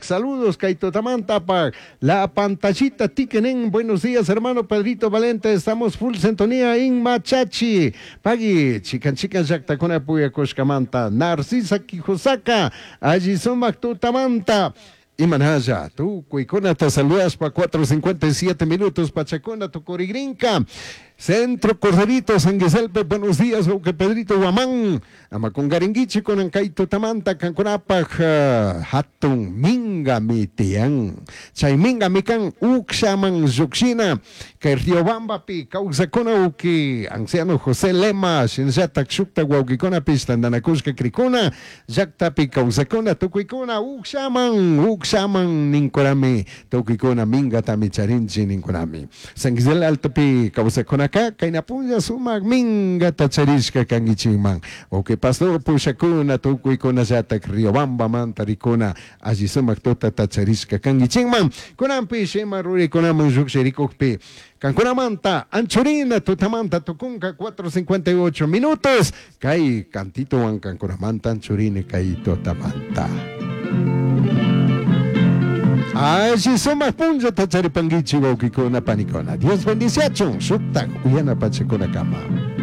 Saludos, kay tutamantapaj. La pantallita Tiquenen. Buenos días, hermano Pedrito Valente. Estamos full sintonía en Machachi. Pagui, chican chican llaqtakuna puyakushkamanta. Narcisa Quijosaka. Alli sumak tutamanta. Imanalla, tukuykunata saludaspa 4:57 minutos pachakuna tukurigrinka. Centro Corderito, San Giselpe, buenos días, wawqi Pedrito Guamán. Ama kungaringuichi kunan kay tutamanta kankunapaj hatun mingami tiyan. Chay mingami kan ukshaman llukshina. Kay Riobambapi kawsakuna uki anciano José Lema, shinallatak shukta wawkikunapish tantanakushka krikuna, llaktapi kawsakuna tukuykuna ukshaman, ukshaman ninkunami, tukuykuna mingatami charinchi ninkunami. San Gisel Altopi kawsakunaka kayna punlla sumak mingata charishka kankichikman. Wawqi pastor pushakuna tukuykunallatak Riobambamanta rikuna alli sumak tutata charishka kankichikman. Kunanpish ima ruraykunaman llukshirikukpi kankunamanta anchurina tutamanta tukunka 4:58 minutos kay cantitowan kankunamanta anchurini kay tutamanta. Alli sumak punllata charipankichik wawqikuna panikuna. Dios bendiciachun shuktak uyana pachakunakama.